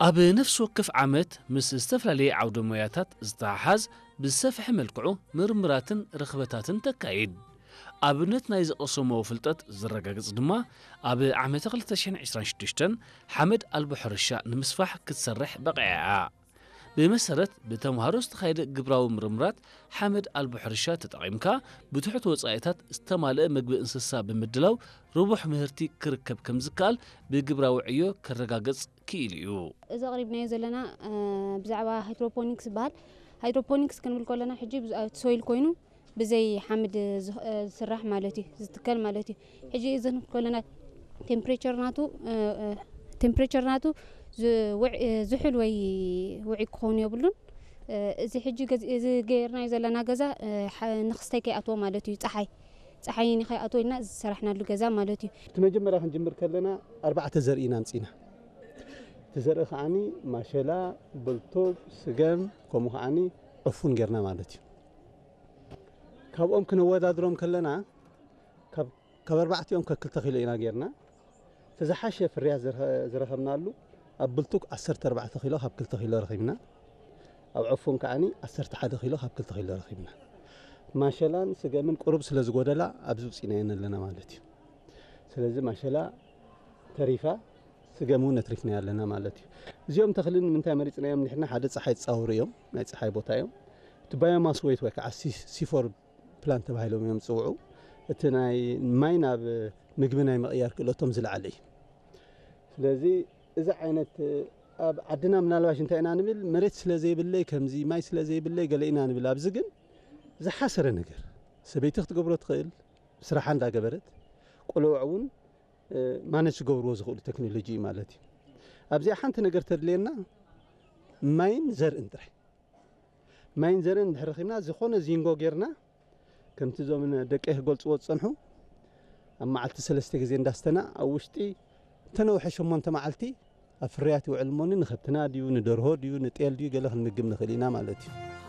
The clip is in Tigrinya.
ኣብ ነፍሲ ወከፍ ዓመት ምስ ዝተፈላለየ ዓውደ ሞያታት ዝተሓሓዝ ብዝሰፍሐ መልክዑ ምርምራትን ርኽበታትን ተካይድ። ኣብነት ናይ ዝቐሰሞ ፍልጠት ዝረጋግጽ ድማ ኣብ ዓመተ ክልተ ሽሕን ዕስራን ሽዱሽተን ሓመድ ኣልቦ ሕርሻ ንምስፋሕ ክትሰርሕ በቒዓ እያ። ብመሰረት ብተምሃሮ ዝተኻየደ ግብራዊ ምርምራት ሓመድ ኣልቦ ሕርሻ ተጠቒምካ ብትሑት ወጻኢታት ዝተማልአ ምግቢ እንስሳ ብምድላው ርቡሕ ምህርቲ ክርከብ ከም ዝከኣል ብግብራዊ ዕዮ ከረጋገጽ ክኢሉ እዩ። እዚ ኣቕሪብናዮ ዘለና ብዛዕባ ሃይድሮፖኒክስ ዝበሃል። ሃይድሮፖኒክስ ክንብል ከለና ሕጂ ሶይል ኮይኑ ብዘይ ሓምድ ዝስራሕ ማለት እዩ፣ ዝትከል ማለት እዩ። ሕጂ እዚ ክንብል ከለና ቴምፕሬቸር ናቱ ቴምፕሬቸር ናቱ ዝሑል ወይ ውዒ ክኸውን የብሉን። እዚ ሕጂ እዚ ገይርናዮ ዘለና ገዛ ንክስተይ ከይኣትዎ ማለት እዩ፣ ፀሓይ ፀሓይ ንከይኣትዎ ኢልና ዝሰራሕናሉ ገዛ ማለት እዩ። እቲ መጀመርያ ክንጅምር ከለና ኣርባዕተ ዘርኢ ኢና ኣምፂና። እቲ ዘርኢ ከዓኒ ማሸላ፣ ብልቱብ፣ ስገም፣ ከምኡ ከዓኒ ዕፉን ጌርና ማለት እዩ። ካብኦም ክነወዳድሮም ከለና ካብ ኣርባዕቲኦም ከክልተ ኪሎ ኢና ጌርና። እቲ ዝሓሸ ፍርያት ዝረኸብናሉ ኣብ ብልቱብ ዓሰርተ ኣርባዕተ ኪሎ ካብ ክልተ ኪሎ ረኺብና። ኣብ ዕፉን ከዓኒ ዓሰርተ ሓደ ኪሎ ካብ ክልተ ኪሎ ረኺብና። ማሸላን ስገምን ቁሩብ ስለ ዝጎደላ ኣብዚ ውፂናየን ኣለና ማለት እዩ። ስለዚ ማሸላ ተሪፋ ስገም እውን ኣትሪፍናዮ ኣለና ማለት እዩ። እዚኦም ተኽሊ ንምንታይ መሪፅናዮም ንሕና? ሓደ ፀሓይ ዝፃወሩ እዮም፣ ናይ ፀሓይ ቦታ እዮም። እቲ ባዮማስ ወይት ወይ ከዓ ሲፎር ፕላንት ተባሂሎም እዮም ዝፅውዑ። እቲ ናይ ማይ ናብ ምግቢ ናይ ምቕያር ክእለቶም ዝለዓለ እዩ። ስለዚ እዚ ዓይነት ኣብ ዓድና ምናልባሽ እንታይ ኢና ንብል፣ መሬት ስለ ዘይብለይ ከምዚ ማይ ስለ ዘይብለይ ገለ ኢና ንብል። ኣብዚ ግን ዝሓሰረ ነገር ሰበይቲ ክትገብሮ ትኽእል፣ ስራሓ እንዳገበረት ቆልዑ እውን ማነጅ ክገብርዎ ዝኽእሉ ቴክኖሎጂ እዩ ማለት እዩ። ኣብዚኣ ሓንቲ ነገር ተድልየና ማይን ዘርእን ጥራይ። ማይን ዘርእን እንድሕር ረኺብና ዝኾነ ዚንጎ ጌርና ከምቲ እዞም ደቀይ ክገልፅዎ ዝፀንሑ ኣብ መዓልቲ ሰለስተ ግዜ እንዳስተና ኣብ ውሽጢ እተነውሐ ሸሞንተ መዓልቲ ኣብ ፍርያት ይውዕል እሞኒ ንኸብትና ድዩ ንደርሆ ድዩ ንጤል ድዩ ገለ ክንምግብ ንኽእል ኢና ማለት እዩ።